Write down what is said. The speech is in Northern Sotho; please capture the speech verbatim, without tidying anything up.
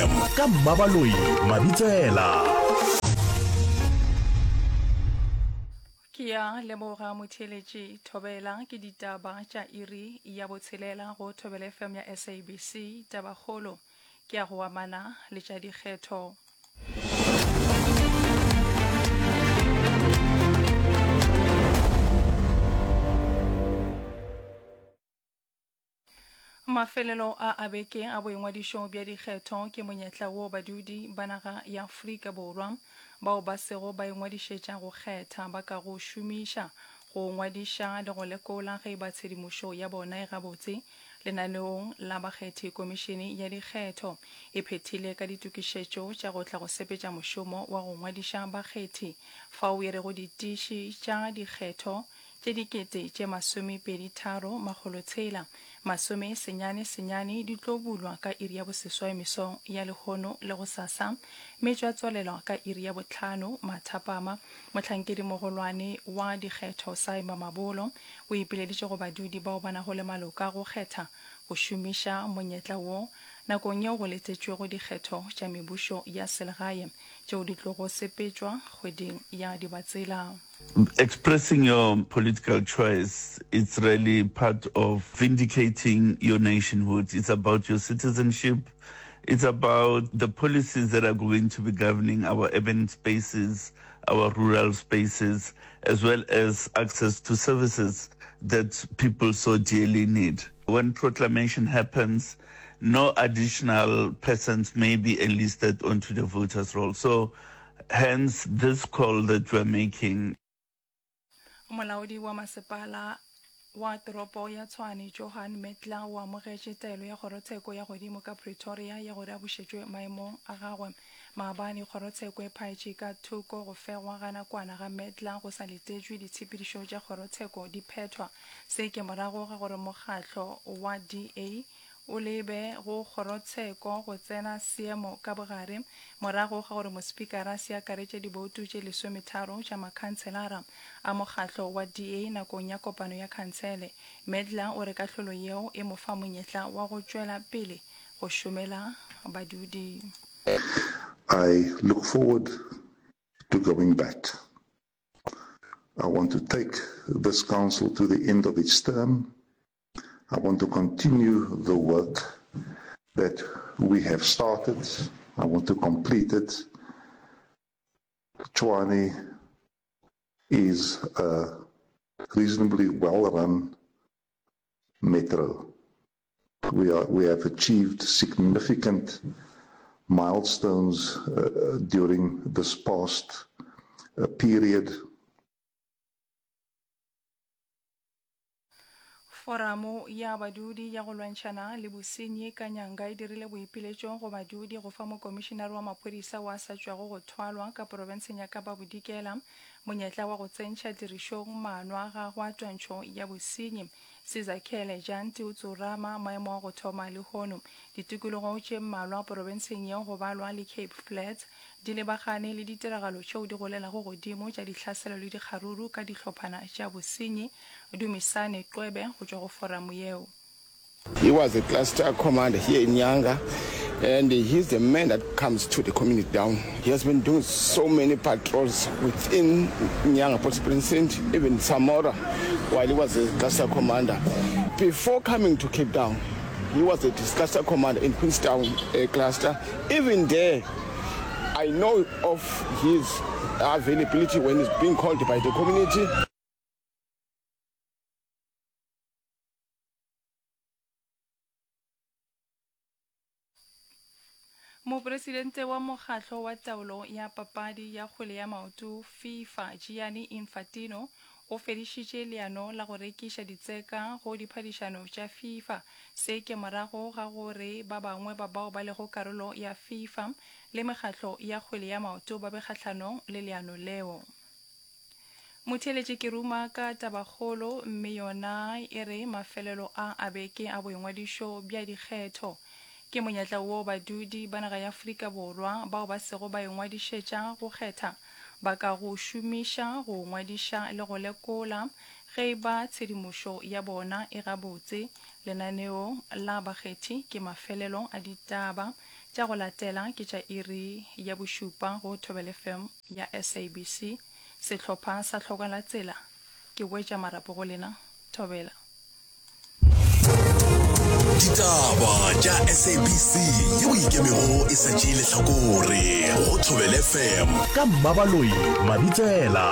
Ka Mmabaloi Mabitsela. Ke ya leboga motheeletši Thobela ke ditaba tša iri ya botshelela go Thobela F M ya S A B C. Tabakgolo ke ya go amana le tša dikgetho. Mafelelo a a beke a boingwadišo bja dikgetho ke monyetla wo badudi ba naga ya Afrika Borwa bao ba sego ba ingwadišetša go kgetha ba ka go šomiša go ngwadiša le go lekola ge ba tshedimošo ya bona e gabotse lenaneong la bakgethi. Komišene ya dikgetho e phethile ka ditokišetšo tša go tla go sepetša mošomo wa go ngwadiša bakgethi fao e rego ditiši tša dikgetho tše dikete tše masomepedi tharo makgolo tshela masome senyane senyane di tlo bulwa ka iri ya boseswai mesong ya lehono le go sasa, mme tša tswalelwa ka iri ya bohlano mathapama. Mohlankedi mogolwane wa dikgetho Saima Mabolo o ipileditše go badudi bao ba nago le maloka go kgetha go šomiša monyetla wo nakong yeo go letetšwego dikgetho tša mebušo ya selegae tšeo di tlogo sepetšwa kgweding ya Dibatsela. Expressing your political choice, it's really part of vindicating your nationhood. It's about your citizenship. It's about the policies that are going to be governing our urban spaces, our rural spaces, as well as access to services that people so dearly need. When proclamation happens, no additional persons may be enlisted onto the voters' roll. So, hence this call that we're making. Molaodi wa masepala wa toropo ya Tshwane Johan Metla o amogetše taelo ya kgorotsheko ya godimo ka Pretoria ya gore a bušetšwe maemong a gagwe. Maabane kgorotsheko e phaetše ka thoko go fegwa ga nakwana ga Metla go sa letetšwe ditshepedišo tša kgorotsheko di phethwa. Se ke morago ga gore mokgatlo wa D A o lebe go kgorotsheko go tsena seemo ka bogare morago ga gore mospikara se akaretše diboutu tše lesometharo tša makhanselara a mokgatlo wa D A nakong ya kopano ya khansele. Medla o re kahlolo yeo e mo fa monyetla wa go tšwela pele go šomela badudi. I look forward to going back. I want to take this council to the end of its term. I want to continue the work that we have started. I want to complete it. Tshwane is a reasonably well-run metro. We are, we have achieved significant milestones, uh, during this past, uh, period. Foramo ya badudi ya go lwantšhana le bosenyi ka nyanga e dirile boipiletšo go badudi go fa mokomišenare wa maphodisa wa sa tšwago go thwalwa ka profenseng ya Kapa Bodikela monyetla wa go tsentšha tirišong maano a gagwe a twantšho ya bosenyi. Sizakhele Janti o tsorama maemo a go thoma lehono. Ditikologo tše mmalwa profenseng yeo go balwa le Cape Flats di lebagane le ditiragalo tšeo di golelago godimo tša dihlaselo le dikgaruru ka dihlophana tša bosenyi. Dumisane Qwebe go tšwa go foramo yeo. He was a cluster commander here in Nyanga, and he's the man that comes to the community down. He has been doing so many patrols within Nyanga Police Precinct, even Samora, while he was a cluster commander. Before coming to Cape Town, he was a cluster commander in Queenstown, uh, cluster. Even there, I know of his availability when he's being called by the community. Mopresidente wa mokgatlo wa taolo ya papadi ya kgwele ya maoto FIFA Gianni Infantino o fedišitše leano la go rekiša ditseka go diphadišano tša FIFA. Se ke morago ga gore ba bangwe ba bao ba lego karolo ya FIFA le mekgatlo ya kgwele ya maoto ba be kgahlanong le leano leo. Motheeletši ke ruma ka tabakgolo mme yona e re mafelelo a a beke a boingwadišo bja dikgetho ke monyetla wo badudi ba naga ya Afrika Borwa bao ba sego ba ingwadišetša go kgetha ba ka go šomiša go ngwadiša le go lekola ge e ba tshedimošo ya bona e gabotse. Lenaneo la bakgethi ke mafelelo a ditaba Tša go latela ke tša iri ya bošupa go Thobela FM ya SABC. Sehlopha sa Hlokwa la Tsela, ke boetša marapo go lena. Thobela. Ditaba tša SABC yeo e ikemego e sa tšee lehlakore go Thobela FM ka Mmabaloi Mabitsela.